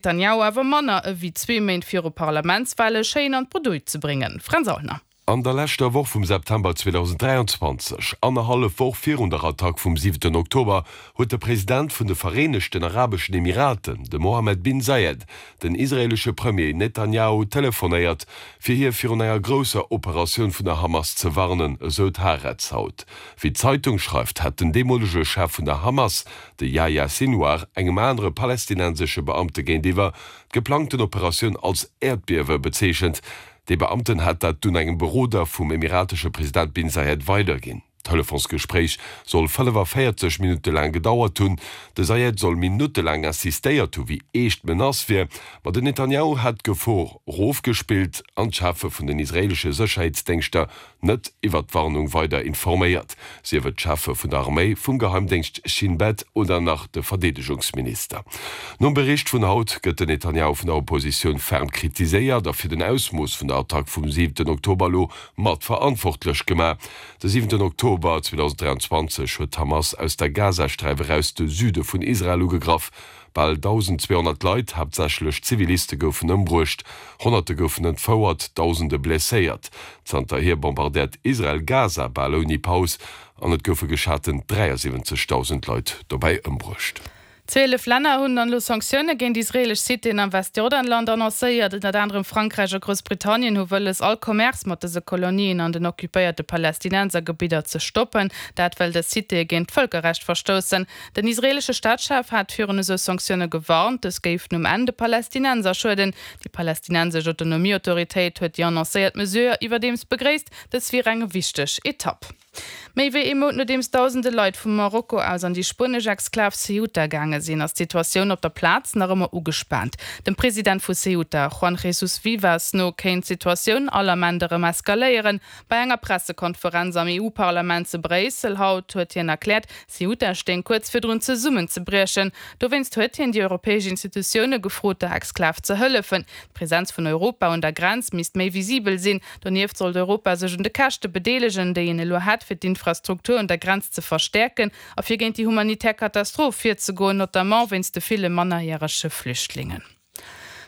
Netanjahu awer manner ewéi zwee Méint viru Parlamentswale schéin an d'Bredouille ze bréngen. Fränz Aulner. An der leschter Woch vum September 2023, annerhallef Woch virun der Attack vum siwenten Oktober, huet de President vun de Vereenegten Arabeschen Emiraten, de Mohammed bin Zayed, den israeelesche Premier Netanjahu telefonéiert, fir hie virun enger grousser Operatioun vun der Hamas ze warnen, esou d'Haaretz haut. Wéi d'Zeitung schreift, hätt den deemolege Chef vun der Hamas, de Yahya Sinwar, engem anere palästinensesche Beamte géintiwwer d'geplangten Operatioun als Äerdbiewe bezeechent. Dee Beamten hätt dat dunn engem Beroder vum emiratesche President Bin Zayed weiderginn. D'Telefonsgespréich soll 45 Minutte laang gedauert hunn. De Zayed soll minuttelaang insistéiert hu wéi eescht d'Menace wier, ma den Netanjahu hätt d'Gefor rofgespillt an d'Cheffe vun den israeelesche Sécherheetsdéngschter net iwwer d'Warnung weider informéiert, sief et d'Cheffe vun der Arméi, vum Geheimdéngscht Shin Bet oder nach de Verdeedegungsminister. Nom Bericht vun haut gëtt den Netanjahu vun der Oppositioun ferm kritiséiert a fir den Ausmooss vun der Attack vum siwenten Oktober elo mat verantwortlech gemaach. De siwenten Oktober 2023 huet d'Hamas aus der Gazasträif eraus de Süde vun Israel ugegraff. Bal 1.200 Leit, haaptsächlech Ziviliste goufen ëmbruecht, Honnerte goufen entfouert, Dausende blesséiert. Zanterhier bombardéiert Israel Gaza bal ouni Paus an et goufe geschaten 73.000 Leit dobäi ëmbruecht. 12 Länner hunn dann elo Sanktioune géint israeelesch Citéen am Westjordanland annoncéiert. Ënnert anerem Frankräich a Groussbritannien hu wëlles, all Commerce mat dëse Kolonien an den occupéierte Palästinensergebidder ze stoppen. Dat well dës Citéë géint d'Vëlkerrecht verstoussen. Den israeelesche Staatschef hat virun esou Sanktioune gewarnt, dës géifen um Enn de Palästinenser schueden. Déi palästinensesch Autonomieautoritéit huet déi annoncéiert Mesure iwwerdeems begréisst, dës wier eng wichteg Etapp. Méi wéi ee Mount nodeems dausende Leit vu Marokko aus an déi spuenesch Exklav Ceuta gaange sinn, ass d'Situatioun op der Plaz nach ëmmer ugespaant. Dem President vu Ceuta, Juan Jesús Vivas, no kéint d'Situatioun all Ament erëm eskaléieren. Bei enger Pressekonferenz am EU-Parlament zu Bréissel haut huet hien erkläert, Ceuta stéing kuerz virdrun zesummenzebriechen. Dowéinst huet hien déi europäesch Institutioune gefrot, der Exklav ze hëllefen. D'Presenz vun Europa un der Grenz misst méi visibel sinn. Donieft sollt Europa sech un de Käschte bedeelegen, déi een elo hätt, fir d'Infrastruktur un der Grenz ze verstäerken a fir géint déi humanitär Katastroph virzegoen, notamment wéinst de ville mannerjärege Flüchtlingen.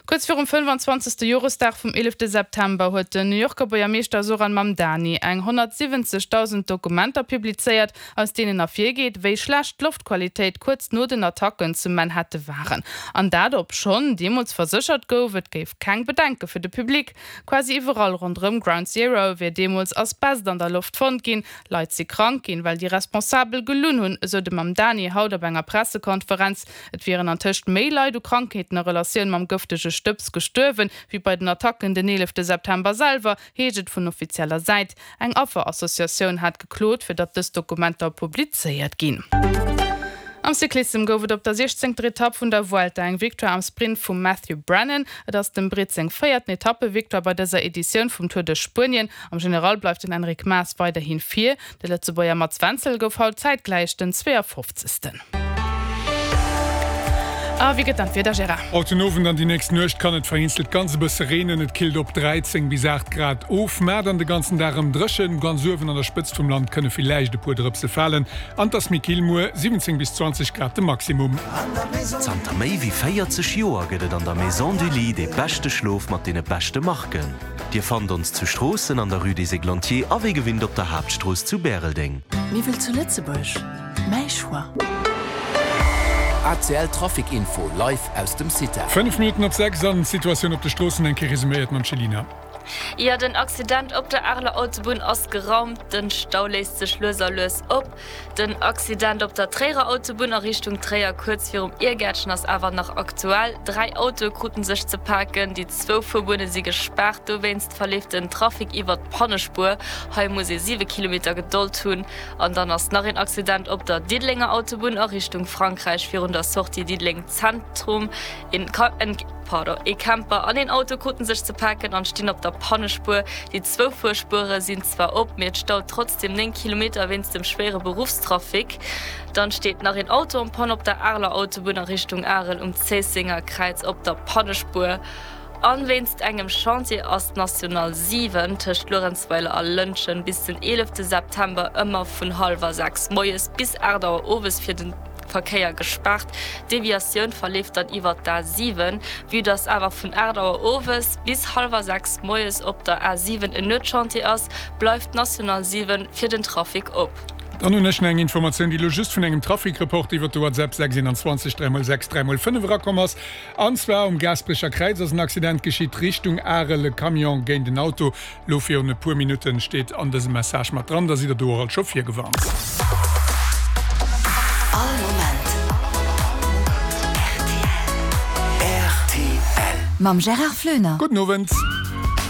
Kuerz virum 25. Joresdag vum 11. September huet den New Yorker Buergermeeschter Zohran Mamdani eng 170.000 Dokumenter publizéiert, aus deenen ervirgeet, wéi schlecht d'Loftqualitéit kuerz no den Attacken zu Manhatte waren. An dat obschonn deemools verséchert gouf, et géif keng Bedenke fir de Public. Quasi iwwerall ronderëm Ground Zero wier deemools Asbest an der Loft fonnt ginn. Leit si krank ginn, well déi Responsabel gelunn hunn, esou de Mamdani haut op enger Pressekonferenz. Et wieren an tëscht méi Leit u Krankheeten a Relatioun mam gëftege Stëbs gestuerwen, wéi bei den Attacken den 11 September selwer, heescht et vun offizieller Säit. Eng Afferassociatioun hat geklot, fir datt dës Dokumenter publizéiert ginn. Am Cyclissem gouf et op der 16. Etapp vun der Vuelta eng Victoire am Sprint vum Matthew Brennan. Et ass dem Britt seng véierten Etappevictoire bei dëser Editioun vum Tour de Spuenien. Am General bleift den Enric Mas weiderhi vir. De Lëtzebuerger Mats Wenzel gouf haut zäitgläich den 52. A wéi gëtt dann d'Wieder, Gérard? Haut den Owend an déi nächst Nuecht kann et vereenzelt ganz e bësse reenen, et killt op 13 bis 8 Grad of. Mä dann de ganzen Dag erëm dréchen, ganz uewen an der Spëtzt vum Land kënne villäicht e puer Drëpse falen an et ass méi kill, muer 17 bis 20 Grad de Maximum. Zanter méi wéi 40 Joer gëtt et an der Maison du Lit dee beschte Schlof mat deene beschte Marken. Dir fannt ons zu Stroossen an der Rue des Églantiers a wéi gewinnt op der Haaptstrooss zu Bäreldeng. Miwwel zu Lëtzebuerg? Mäi Choix. ACL Trafic Info live aus dem CITA. 5 Minutten op 6 an d'Situatioun op de Stroossen eng Kéier resuméiert mam Céline. Jo, den Accident op der Areler Autobunn ass geraumt. Den Stau léist sech lues a lues op. Den Accident op der Tréierer Autobunn a Richtung Tréier kuerz virum Iergäertchen ass awer nach aktuell. 3 Autoe kruten sech ze paken. Déi zwou Fuerbunne si gespaart. Dowéinst verleeft den Trafic iwwert d'Pannespuer. Hei muss ee 7 Kilometer Gedold hunn. An dann ass nach een Accident op der Diddelenger Autobunn a Richtung Frankräich virun der Sortie Diddeleng Zentrum. Een pardon, ee Camper an een Auto kruten sech ze paken an stinn op der Pannespuer. Déi zwou Fuerspuere sinn zwar op, mee et staut trotzdeem 9 Kilometer wéinst dem schwéiere Beruffstrafic. Dann steet nach een Auto en panne op der Areler Autobunn a Richtung Arel um Zéissenger Kräiz op der Pannespuer. An wéinst engem Chantier ass d'National 7 tëscht Luerenzweiler a Lëntgen bis den 11 September ëmmer vun hallwer 6 moies bis 8 Auer owes fir den. Verkéier gespaart. D'Deviatioun verleeft dann iwwer d'A 7. Vue dass awer vun 8 Auer owes bis hallwer 6 moies op der A 7 en Nuetschantier ass, bleift d'National 7 fir den Trafic op. Dann hunn ech nach eng Informatioun, déi elo just vun engem Trafic-Report iwwer de WhatsApp 6 21 3 x 6 3 x 5 erakomm ass. An zwar um Gaasperecher Kräiz ass en Accident geschitt, Richtung Arel, e Camion géint en Auto. Lo virun e puer Minutten steet an dësem Message mat dran, da sidd der do och alt scho virgewarnt. All Moment rtl. Mam Gérard Floener. Gudden Owend.